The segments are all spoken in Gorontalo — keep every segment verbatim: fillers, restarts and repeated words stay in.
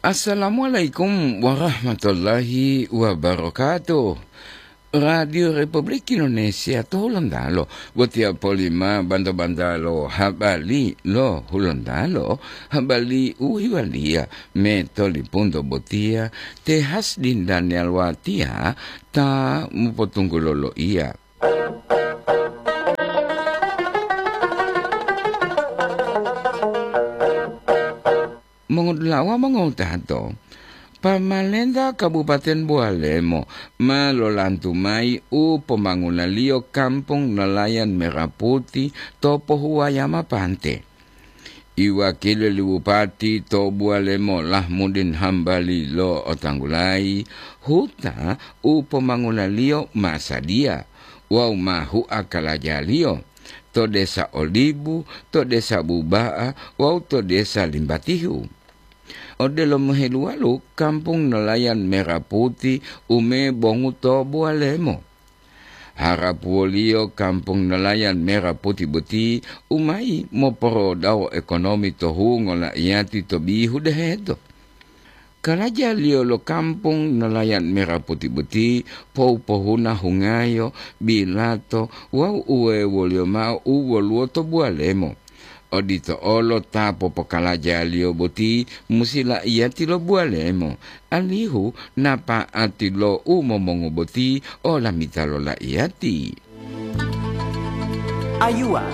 Assalamualaikum warahmatullahi wabarakatuh. Radio Republik Indonesia to Hulontalo, botiya polima banto-bantalo habari lo Hulontalo, habari u hiwaliya me tolipunto botiya te Hasdin Daniel Watiya ta mopotunggulo loiya. Mongodula'a wawu mongowutato, pamalenta Kabupaten Bowalemo ma lolantu mayi u pomangunaliyo Kampung Nelayan Merah Putih to Pohuwayama Pante. Iwakili li Bupati to Bowalemo Lahmudin Hambali lo'otanggulayi huta u pomangunaliyo ma sadiya wawu ma hua kalajaliyo to Desa Olibu, to Desa Buba'a wawu to Desa Limbatihu. Odelo moheluwalu Kampung Nelayan Merah Putih u mebongu to Bowalemo. Harapuwoliyo Kampung Nelayan Merah Putih boti u mayi moporodawo ekonomi to hungo la'iyati to bihu deheto. Kalajaliyo lo Kampung Nelayan Merah Putih boti pohu-pohuna hungayo, bilato wawu uwewoliyo mao u woluwo to Bowalemo. Odito olo ta popokalajaliyo boti musi la'iyati lo Bowalemo, alihu napa'ati lo u momongu boti olamita lo la'iyati. Ayuwa.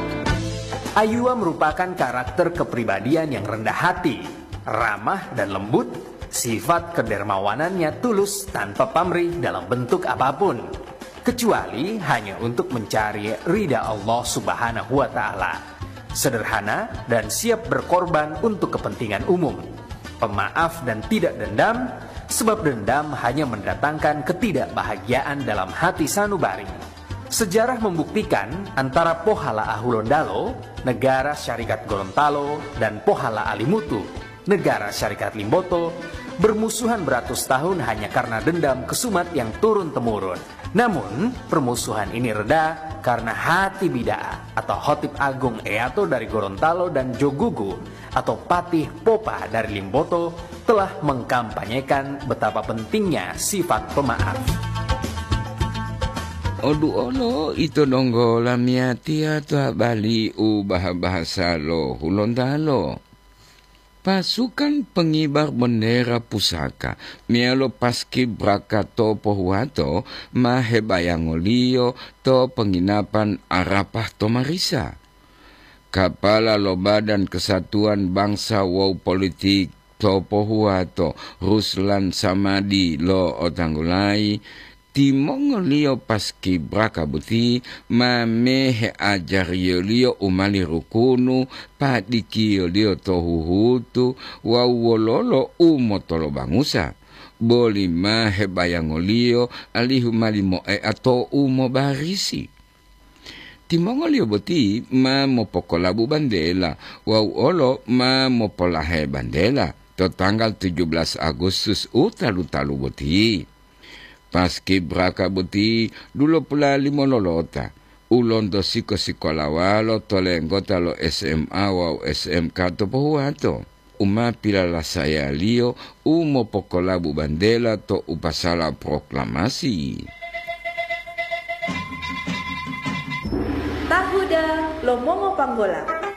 Ayuwa merupakan karakter kepribadian yang rendah hati, ramah dan lembut, sifat kedermawanannya tulus tanpa pamrih dalam bentuk apapun, kecuali hanya untuk mencari ridha Allah Subhanahu wa Ta'ala. Sederhana dan siap berkorban untuk kepentingan umum. Pemaaf dan tidak dendam, sebab dendam hanya mendatangkan ketidakbahagiaan dalam hati sanubari. Sejarah membuktikan antara Pohala Ahulondalo, Negara Syarikat Gorontalo, dan Pohala Alimutu, Negara Syarikat Limboto, bermusuhan beratus tahun hanya karena dendam kesumat yang turun-temurun. Namun, permusuhan ini reda karena Hati Bida'a atau Hotip Agung Eato dari Gorontalo dan Jogugu atau Patih Popa dari Limboto telah mengkampanyekan betapa pentingnya sifat pemaaf. Odu olo ito donggo lamiyatiya to habali u baha-bahasa lo Hulontalo. Pasukan pengibar bendera pusaka meyalo paskibraka to pohuwato ma hebayangoliyo to penginapan Arapah to Marisa. Kapala lo Badan Kesatuan Bangsa wawu Politik to pohuwato, Ruslan Samadi lo'otanggulayi, timongoliyo paskibraka boti ma meheajariyoliyo u mali rukunu, padikiyoliyo to huhutu wawu wololo u motolobangusa, boli ma hebayangoliyo alihu mali moea to u mobarisi. Timongoliyo boti ma mopokolabu bantela wawu olo ma mopolahe bantela to tanggal tujuh belas Agustus u talu-talu boti. Paskibraka boti dulopula limo lolota, u lonto siko-sikolawalo to lenggota lo S M A wawu S M K to pohuwato, u ma pilalasayaliyo u mopokolabu bantela to u pasala proklamasi. Tahuda lo mongo panggola.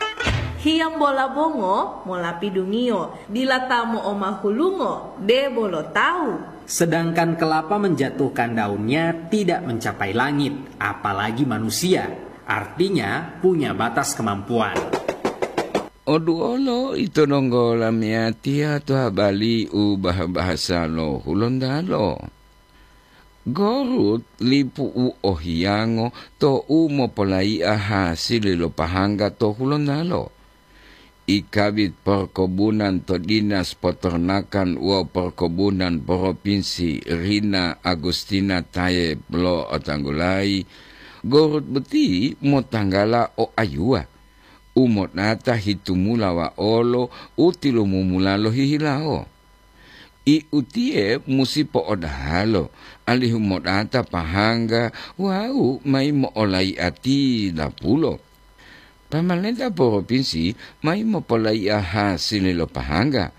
Hiyambola bongo mola pidungiyo, dila ta mo'omahulungo, debo lo tawu. Sedangkan kelapa menjatuhkan daunnya tidak mencapai langit, apalagi manusia. Artinya, punya batas kemampuan. Oduolo ito donggo lamiyatiya to habali u baha-bahasa lo Hulontalo. Gorut lipu u ohiyango to u mopolayi'a hasili lo pahangga to Hulontalo. I Kabid Perkebunan to Dinas Peternakan wawu Perkebunan Propinsi, Rina Agustina Tayeb lo'otanggulayi, gorut boti motanggala o ayuwa, u modata hitumula waolo u tilumumula lohihilawo. I utiye musi po'odahalo, alihu modata pahangga wawu mayi mo'olayi'ati lapulo. Pamalenta poropinsi mayi mopolayi'a hasili lo pahangga,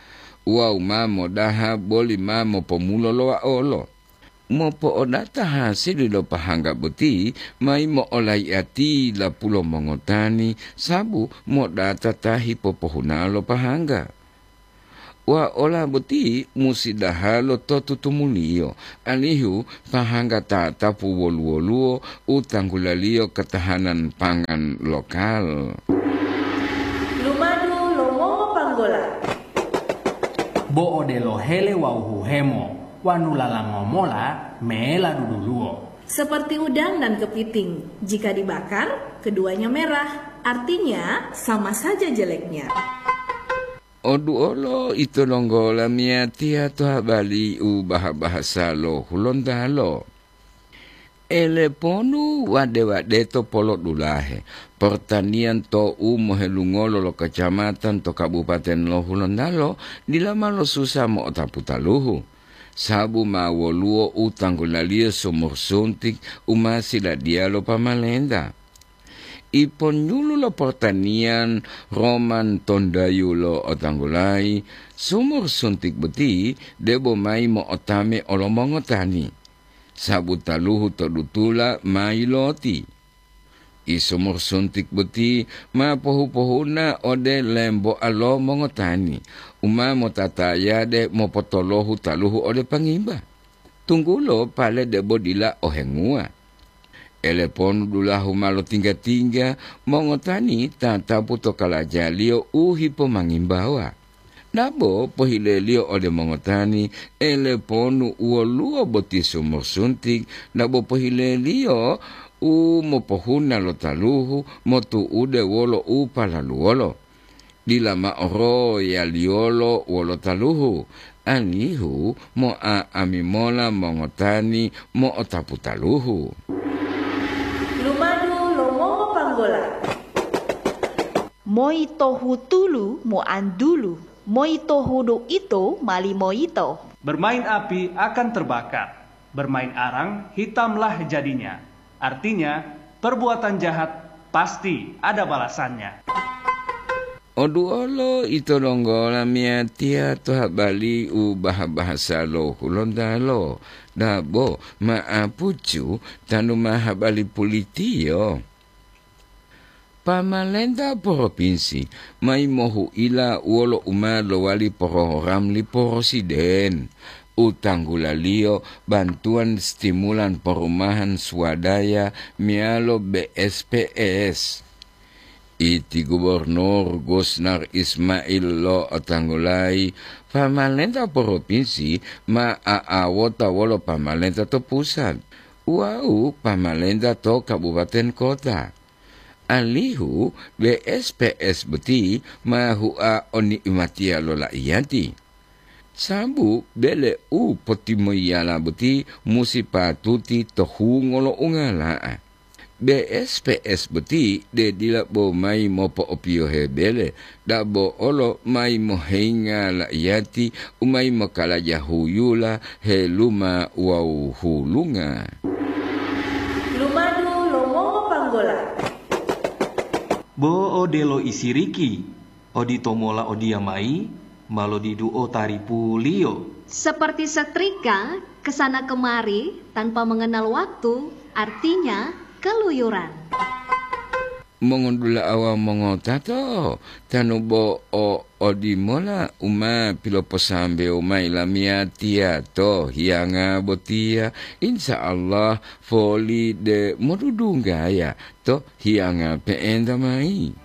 wawu ma modaha boli ma mopomulo lo waolo. Mopo'odata hasili lo pahangga boti mayi mo'olaiati lapulo mongotani, sabu modata ta hipopohuna lo pahangga. Waola boti musi dahalo to tutumuliyo, alihu pahangga tatapu wolu-woluwo u tanggulaliyo ketahanan pangan lokal. Lumadu lo mongopanggola. Bo odelo hele wawu huhemo, wanu lalango mola mela duduluwo. Seperti udang dan kepiting, jika dibakar, keduanya merah. Artinya, sama saja jeleknya. Oduolo ito donggo lamiyatiya to habali u baha-bahasa lo Hulontalo. Eleponu wade-wadeto polodulahe, portaniyan to u mohelungolo lo kacamatan to Kabupaten lo Hulontalo dila ma losusa mo'otapu taluhu, sabu ma woluwo u tanggulaliyo sumur suntik u ma siladiyalo pamalenta. Iponyulu lo portaniyan Roman Tondayu lo otanggulayi, sumur suntik boti debo mayi mo'otame olo mongotani, sabu taluhu to dutula ma yiloti. I sumur suntik boti ma pohu-pohuna ode lemboa lo mongotani, u ma motatayade mopotolohu taluhu ode pangimba, tunggulo pale debo dila ohenguwa. Eleponu dulahu ma lotingga-tingga, mongotani tatapu to kalajaliyo u hipomangimbawa. Dabo pohileliyo ode mongotani, eleponu woluwo boti sumur suntik, dabo pohileliyo u mopohuna lo taluhu motu'ude wolo u palaluwolo. Dila mao royaliyolo wolo taluhu, alihu mo'a'ami mola mongotani mo'otapu taluhu. Lumadu lo mongopanggola. Moi to hutulu moantulu, moi to hudu ito mali moyito. Bermain api akan terbakar, bermain arang hitamlah jadinya. Artinya, perbuatan jahat pasti ada balasannya. Oduolo ito donggo lamiyatiya to habali u baha-bahasa lo Hulontalo, dabo ma'apucu tanu ma habali pulitiyo. Pamalenta propinsi mayi mohuila wolo u ma lowali program li Presiden u tanggulaliyo bantuan stimulan perumahan swadaya meyalo B S P S. Iti Gubernur Gusnar Ismail lo'otanggulayi pamalenta propinsi ma a'awota wolo pamalenta to pusat wawu pamalenta to kabupaten kota. Alihu B S P S boti ma hua o ni'imatiya lo la'iyati. Sabu bele u potimoyiyala boti musi patuti to hungo lo ungala'a. B S P S boti de dila bo mayi mopo'opiyohe bele, dabo olo mayi mohenga la'iyati u mayi mokalaja huyula, heluma wawu hulunga. Lumadu lo mongopanggola. Bo odelo isiriki, odito mola odiyamayi ma lodiduo taripuliyo. Seperti setrika, ke sana kemari tanpa mengenal waktu, artinya keluyuran. Mongondula'awa mongotato, tanu bo o odimola u ma piloposambewo mayi lamiyatiya to hiyanga botiya, insya Allah foli de modudunggaya to hiyanga pe'enta mayi.